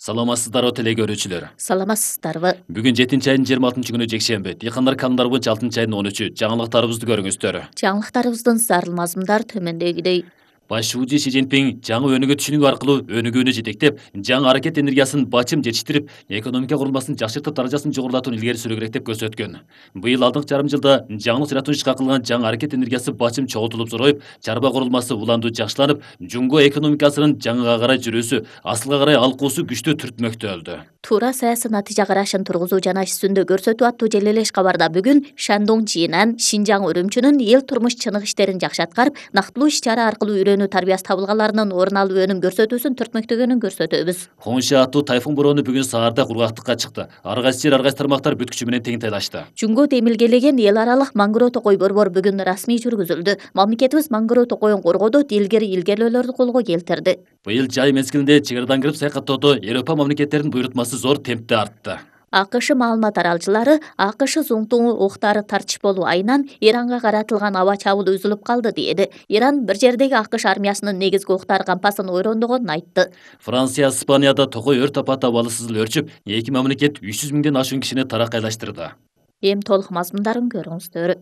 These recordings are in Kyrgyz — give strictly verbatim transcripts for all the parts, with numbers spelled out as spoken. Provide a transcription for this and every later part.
Саламатсыздарбы теле көрүүчүлөр. Саламатсыздарбы. Бүгүн жетинчи айдын жыйырма алтынчы күнү жекшемби. Дыйкандар календарь боюнча алтынчы айдын он үчү. Жаңылыктарыбызды көрүңүздөр. Жаңылыктарыбыздын зарыл мазмундар төмөндөгүдөй. Баш шүүжү Си Цзиньпин жаңы өнүгүү түшүнүгү аркылуу өнүгүүнү жетектеп, жаңы аракет энергиясын бачым жетиштирип, экономика курулмасын жакшыртып, даражасын жогорулатууну илгери сүрүү керек деп көрсөткөн. Быйыл алдыңкы жарым жылда жаңылык жаратуу ишке кылган жаңы аракет энергиясы бачым чогултулуп зороюп, чарба курулмасы уланду жакшыланып, жумго экономикасынын жаңыга карай жүрүүсү, асылга карай алкуусу күчтүү түртмөктөлдү. Туура саясий натыйжа карашын тургузуу жана иш жүзүндө көрсөтүү аттуу желелеш кабарда бүгүн Шандong Чиинан Шинжаң Үрүмчүнүн эл турмуш чынык иштерин жакшы аткарып, нактылуу иш чара аркылуу үйрөнүү тарбиясы табылганларынын орун алып өнүм көрсөтүүсүн түртмөктөгөнүн көрсөтөбүз. Хонша аттуу тайфун бороону бүгүн саарда кургактыкка чыкты. Ар кайсы жер, ар кайсы тармактар бүт күчү менен тең тайлашты. Жумго демилгелеген эл аралык Маңгыроо токой борбор бүгүн расмий жүргүзүлдү. Мамлекетибиз Маңгыроо токойун коргоодо илгери илгерүүлөрдү колго келтирди. Быйыл жай мезгилинде чек арадан кирип саякаттоодо Европа мамлекеттеринин буйрутмасы зор темпте артты. АКШ маалымат аралчылары АКШ зуңтуу октары тартыш болуу айынан Иранга каратылган аба чабуул үзүлүп калды деди. Иран бир жердеги АКШ армиясынын негизги октар кампасын ойрондогонун айтты. Франция, Испанияда токой өрт апаты абалы сызыл өрчүп, эки мамлекет үч жүз миңден ашуун кишини таракайлаштырды. Эми толук мазмундарын көрүңүздөр.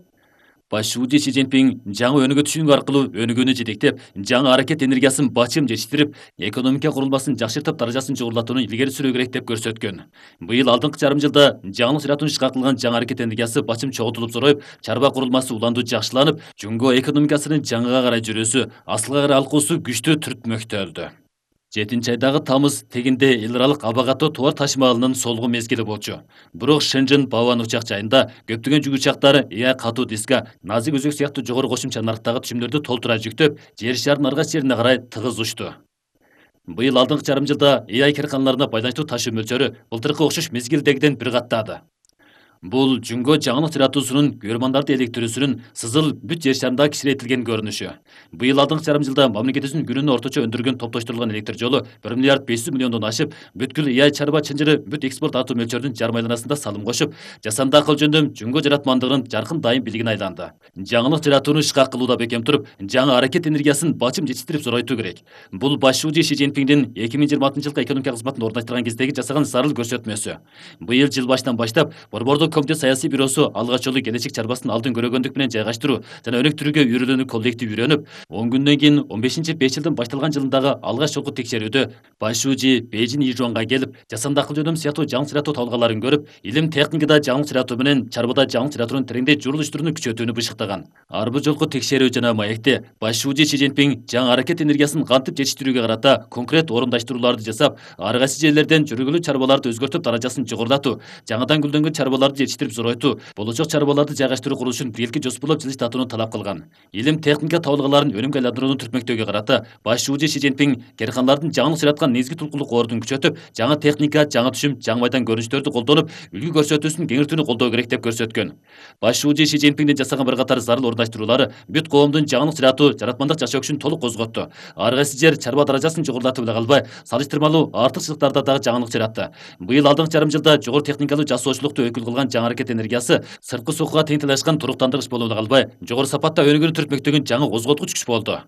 Баш шүүжү Си Цзиньпин жаңы өнүгүү түшүнүгү аркылуу өнүгүүнү жетектеп, жаңы аракет энергиясын бачым жетиштирип, экономика курулмасын жакшыртып, даражасын жогорулатууну илгери сүрүү керек деп көрсөткөн. Быйыл алдыңкы жарым жылда жаңылык жаратуу ишке кылган жаңы аракет энергиясы бачым чогултулуп зороюп, чарба курулмасы уланду жакшыланып, жумго экономикасынын жаңыга карай жүрүүсү, асылга карай алкуусу күчтүү түртмөктөлдү. жетинчи айдагы тамыз тегинде эл аралык аба катуу товар ташымалынын солгу мезгили болчу. Бирок Шэньчжэн Баобан учак жайында көптөгөн жүк учактары Ия катуу диска, назик өзөк сыяктуу жогору кошумча нарктагы түшүмдөрдү толтура жүктөп, жер шарынын ар кайсы жерине карай тыгыз учту. Быйыл алдыңкы жарым жылда Ия карканаларына байланыштуу ташуу мөлчөрү былтыркы окшош мезгилдегиден бир каттады. Бул жумго жаңылык жаратуусунун, көрмандарды электирүүсүнүн сызыл бүт жер шарындагы кичирейтилген көрүнүшү. Быйыл алдыңкы жарым жылда мамлекетибиздин күнүнө орточо өндүргөн топтоштурулган электр жолу бир миллиард беш жүз миллиондон ашып, бүткүл Ия чарба чынжыры бүт экспорт артуу мөлчөрүнүн жарым айланасында салым кошуп, жасанды акыл жөндөм жумго жаратмандыгынын жаркын дайым бийлигине айланды. Жаңылык жаратууну ишке кылууда бекем туруп, жаңы аракет энергиясын бачым жетиштирип зоройтуу керек. Бул баш шүүжү Си Цзиньпиндин эки миң жыйырма алтынчы жылкы экономика кызматын орундаштырган кездеги жасаган зарыл көрсөтмөсү. Быйыл жыл башынан баштап борбордук комитет саясий бюросу алгач жолу келечек чарбасын алдын көрөгөндүк менен жайгаштыруу жана өнүктүрүүгө үйрөлүүнү коллектив үйрөнүп, он күндөн кийин он бешинчи беш жылдын башталган жылындагы алгач жолку текшерүүдө баш шүүжү Бейжин Ижуанга келип, жасанды акыл жөндөм сыяктуу жаңылык жаратуу табылгаларын көрүп, илим техникада жаңылык жаратуу менен чарбада жаңылык жаратуунун тереңдей журулуштууну күчөтүүнү бышыктаган. Ар бир жолку текшерүү жана маекте баш шүүжү Си Цзиньпин жаңы аракет энергиясын кантип жетиштирүүгө карата конкрет орундаштырууларды жасап, ар кайсы жерлерден жүргүлүү чарбаларды өзгөртүп, даражасын жогорулатуу, жаңыдан гүлдөнгөн чарбаларды жетиштирип зоройтуу, болочок чарбаларды жайгаштыруу курулушун биргеликке жоспорлоп жылыштатууну талап кылган. Илим техника табылгаларын өнүмгө айландырууну түртмөктөөгө карата баш шүүжү Си Цзиньпин карканалардын жаңылык жараткан негизги тулкулук ордун күчөтүп, жаңы техника, жаңы түшүм, жаңы майдан көрүнүштөрдү колдонуп, үлгү көрсөтүүсүн кеңиртүүнү колдоо керек деп көрсөткөн. Баш шүүжү Си Цзиньпиндин жасаган бир катар зарыл орундаштыруулары бүт коомдун жаңылык жаратуу, жаратмандык жашоо күчүн толук козготту. Ар кайсы жер чарба даражасын жогорулатып эле калбай, салыштырмалуу артыкчылыктарда дагы жаңылык жаратты. Быйыл алдыңкы жарым жылда жогору техникалуу жасоочулукту өкүл кылган жаңы аракет энергиясы сырткы сокуга тең тайлашкан туруктандыргыч болуп эле калбай, жогору сапатта өнүгүүнү түртмөктөгөн жаңы козготкуч күч болду.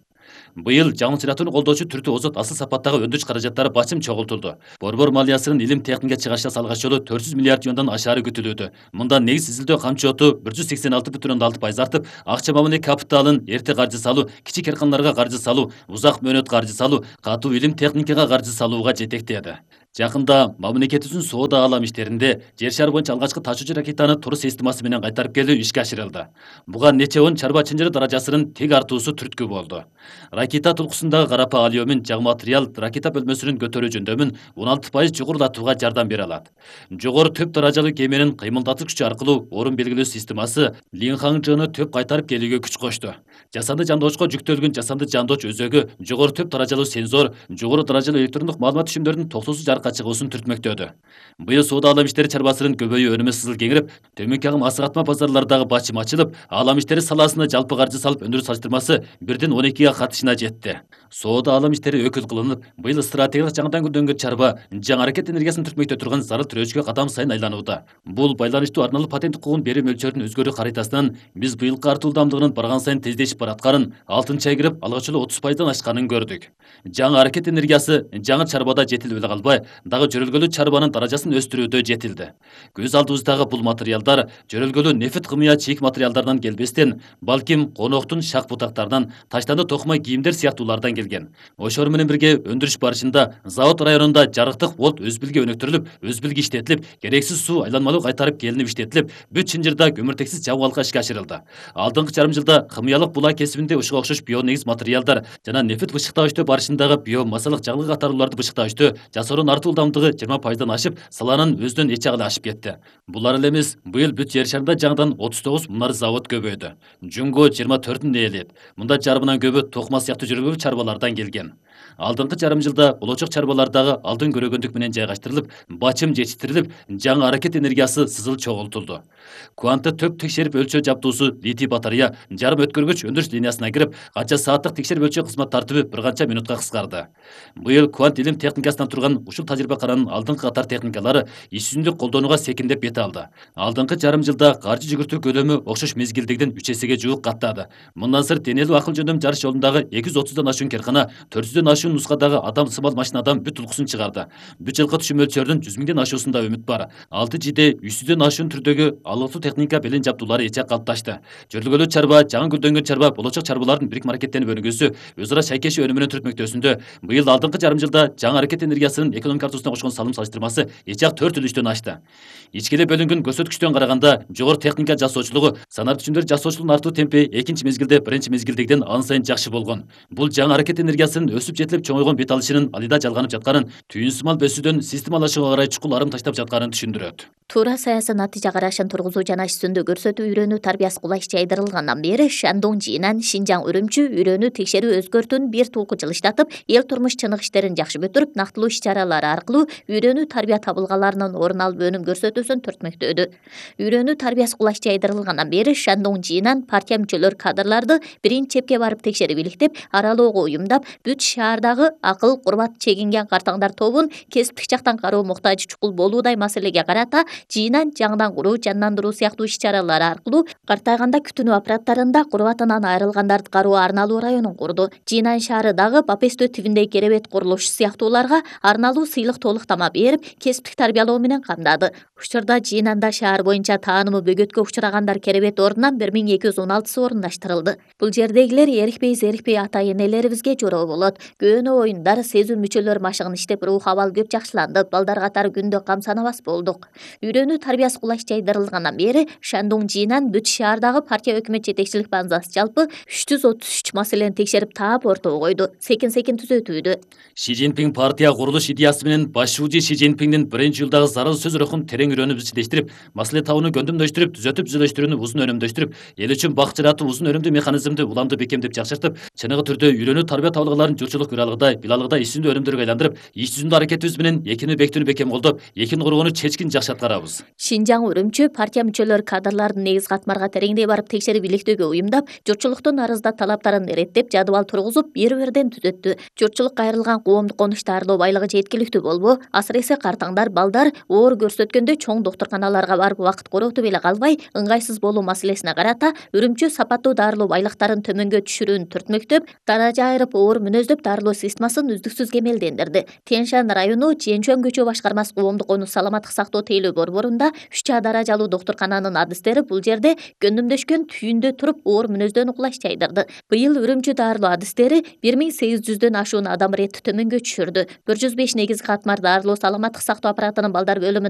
Быйыл жаңылык жаратууну колдоочу түртүү озот асыл сапаттагы өндүрүш каражаттары бачым чогултулду. Борбор малиясынын илим техника чыгарышасы алгач жолу төрт жүз миллиард юандан ашаары күтүлүүдө. Мында негиз изилдөө камчы оту бир жүз сексен алты бүтүн ондон алты пайыз артып, акча мамиле капиталын эрте каржы салуу, кичи карканаларга каржы салуу, узак мөөнөт каржы салуу, катуу илим техникага каржы салууга жетектеди. Жакында мамлекетибиздин соода алам иштеринде жер шары боюнча алгачкы ташуучу ракетаны турук системасы менен кайтарып келүү ишке ашырылды. Буга нече он чарба чынжыры даражасынын тек артуусу түрткү болду. Ракета тулкусундагы карапа алюмин жаг материал ракета бөлмөсүнүн көтөрүү жөндөмүн он алты пайыз жогорулатууга жардам бере алат. Жогору төп даражалуу кеменин кыймылдатыш күчү аркылуу орун белгилөө системасы Линхаңжыны төп кайтарып келүүгө күч кошту. Жасанды жандоочко жүктөлгөн жасанды жандооч өзөгү, жогору төп даражалуу сензор, жогору даражалуу электрондук маалымат түшүмдөрүнүн токсосуз жарыкка чыгуусун түртмөктөдү. Быйыл соода алам иштери чарбасынын көбөйүү өнүмү сызыл кеңирип, төмөнкү агым асык-атма базарлардагы бачым ачылып, алам иштери саласына жалпы каржы салып өндүрүү салыштырмасы бирден он экиге катышына жетти. Соода алам иштери өкүл кылынып, быйыл стратегиялык жаңыдан гүлдөнгөн чарба жаңы аракет энергиясын түртмөктө турган зарыл тирөөчкө кадам сайын айланууда. Бул байланыштуу арналуу патент укугун берүү мөлчөрүнүн өзгөрүү харитасынан биз быйылкы артуу ылдамдыгынын барган сайын тездешип баратканын, алтынчы ай кирип алгач эле отуз пайыздан ашканын көрдүк. Жаңы аракет энергиясы жаңы чарбада жетилип эле калбай, дагы жөрөлгөлүү чарбанын даражасын өстүрүүдө жетилди. Көз алдыбыздагы бул материалдар жөрөлгөлүү нефит кымыя чийик материалдардан келбестен, балким коноктун шак бутактарынан, таштанды токмай кийимдер сыяктуулардан келген. Ошор менен бирге өндүрүш барышында завод районунда жарыктык болт өзбилге өнүктүрүлүп, өзбилге иштетилип, керексиз суу айланмалуу кайтарып келинип иштетилип, бүт Чынжырда көмүртексиз жабып алга ишке ашырылды. Алдыңкы жарым жылда кымыялык булаа кесибинде ушуга окшош бионегиз материалдар жана нефит бышыктагычтоо барышындагы биомассалык жаңылык катарлууларды бышыктагычтоо жасоонун артуу ылдамдыгы жыйырма пайыздан ашып, саланын өзүнөн эч агалы ашып кетти. Булар эле эмес, быйыл бүт жер шарында жаңыдан отуз тогуз мунар завод көбөйдү. Жунго жыйырма төртүн ээлейт. Мында жарымынан көбү токма сыяктуу жөрөлгөлүү чарбалардан келген. Алдыңкы жарым жылда болочок чарбалардагы алдын көрөгөндүк менен жайгаштырылып, бачым жетиштирилип, жаңы аракет энергиясы сызыл чогултулду. Куантты төп текшерип өлчөө жабдуусу литий батарея жарым өткөргүч өндүрүш линиясына кирип, канча сааттык текшерип өлчөө кызмат тартиби бир канча минутка кыскарды. Быйыл Куант илим техникасынан турган ушул тажрыйбакананын алдыңкы катар техникалары иш жүзүндө колдонууга секиндеп бет алды. Алдыңкы жарым жылда каржы жүгүртүү көлөмү окшош мезгилдегиден үч эсеге жуук каттады. Мындан сырт денелүү акыл жөндөм жарыш жолундагы эки жүз отуздан ашуун керкана, төрт жүздөн ашуун нускадагы адам сымал машинадан бүт улкусун чыгарды. Бүт жылкы түшүм мөлчөрүнүн жүз миңден ашуусунда үмүт бар. алты жиде үч жүздөн ашуун түрдөгү алыктуу техника белен жабдуулары эч жак калыпташты. Жөрөлгөлүү чарба, жаңы гүлдөнгөн чарба болочок чарбалардын бирикме аракеттенип өнүгүүсү, өз ара шайкеши өнүмүнөн түртмөктөсүндө быйыл алдыңкы жарым жылда жаңы аракет энергиясынын экономика картасына кошкон салым салыштырмасы эч жак төрт үлүштөн ашты. Ичкиле бөлүнгөн көрсөткүчтөн караганда жогору техника жасоочулугу, санар түчүмдөр жасоочулугунун артуу темпи экинчи мезгилде биринчи мезгилдегиден ан сайын жакшы болгон. Бул жаңы аракет энергиясынын өсүп жетилип чоңойгон бет алышынын алыйда жалганып жатканын, түйүн сымал бөсүүдөн системалашууга карай чукул арым таштап жатканын түшүндүрөт. Туура саясий натыйжа карашын тургузуу жана иш жүзүндө көрсөтүү үйрөнүү тарбиясы кулайчы жайдырылгандан бери Шандон жыйынан Шинжаң Үрүмчү үйрөнүү текшерүү өзгөртүүнүн бир тулку жылыштатып, эл турмуш чынык иштерин жакшы бүтүрүп, нактылуу иш-чаралар аркылуу үйрөнүү тарбия табылгаларынын орун алып өнүм көрсөтүүсүн түртмөктөдү. Үйрөнүү тарбиясы кулайчы жайдырылгандан бери Шандон жыйынан партия мүчөлөр кадрларды биринчи чепке барып текшерип иликтеп, аралоого уюмдап, бүт шаардагы акыл, курбат чегинген картаңдар тобун кесиптик жактан кароо муктажы чукул болуудай маселеге карата жыйынан жаңыдан куруу, жандандыруу сыяктуу иш-чаралар аркылуу картайганда күтүнүү аппараттарында курбатынан айрылгандарды кароо арналуу районун курду. Жыйнан шаары дагы Бапесто тибиндеги керебет курулуш сыяктууларга арналуу сыйлык толуктама берип, кесиптик тарбиялоо менен камдады. Учурда жыйнанда шаар боюнча таанымы бөгөткө учурагандар керебет ордунан бир миң эки жүз он алтысы орундаштырылды. Бул жердегилер эрикпей зерикпей ата энелерибизге жороо болот. Көөнө оюндар, сезүү мүчөлөр машыгын иштеп, рух абал көп жакшыланды. Балдар катары күндө кам санабас болдук. Үйрөнүү тарбиясы кулайчы жайдырылгандан бери Шандон жыйынан бүт шаардагы партия өкмөт жетекчилик базасы жалпы үч жүз отуз үч маселени текшерип таап ортого койду. Секин-секин түзөтүүдө. Ши Цзиньпин партия курулуш идеясы менен башчы Ши Цзиньпиндин биринчи жылдагы зарыл сөз рухун терең үйрөнүп ичилештирип, маселе табууну көндүмдөштүрүп, түзөтүп түзөлөштүрүүнү узун өнөмдөштүрүп, эл үчүн бак жаратуу узун өнөмдүү механизмди уламды бекемдеп жакшыртып, чыныгы түрдө үйрөнүү тарбия табылгаларын журтчулук күралыгыдай, билалыгыдай иш жүзүндө өнөмдөргө айландырып, иш жүзүндө аракетибиз менен экини бекитүүнү бекем колдоп, экини коргоону чечкин жакшы аткарабыз. Шинжаң Үрүмчү партия мүчөлөр кадрлардын негиз катмарга тереңдей барып текшерип иликтөөгө уюмдап, журтчулуктун арызда талаптарын эреттеп, жадыбал тургузуп, бир бирден түзөттү. Журтчулук кайрылган коомдук конушту арлоо байлыгы жеткиликтүү болбу? Асыресе картаңдар, балдар оор көрсөткөндө чоң доктурканаларга барып убакыт короотуп эле калбай, ыңгайсыз болуу маселесине карата Үрүмчү сапаттуу дарылоо байлыктарын төмөнгө түшүрүүнү түртмөктөп, даража айырып оор мүнөздөп дарылоо системасын үздүксүз кемелдендирди. Тянь-Шань району Чжэнчжуан көчө башкармасы коомдук конуш саламаттык сактоо тейлөө борборунда үч А даражалуу доктуркананын адистери бул жерде көндүмдөшкөн түйүндө туруп оор мүнөздөнү кулайчы жайдырды. Быйыл Үрүмчү дарылоо адистери бир миң сегиз жүздөн ашуун адам иретти төмөнгө түшүрдү. бир жүз беш негизги катмар дарылоо саламаттык сактоо аппаратынын балдар бөлүмү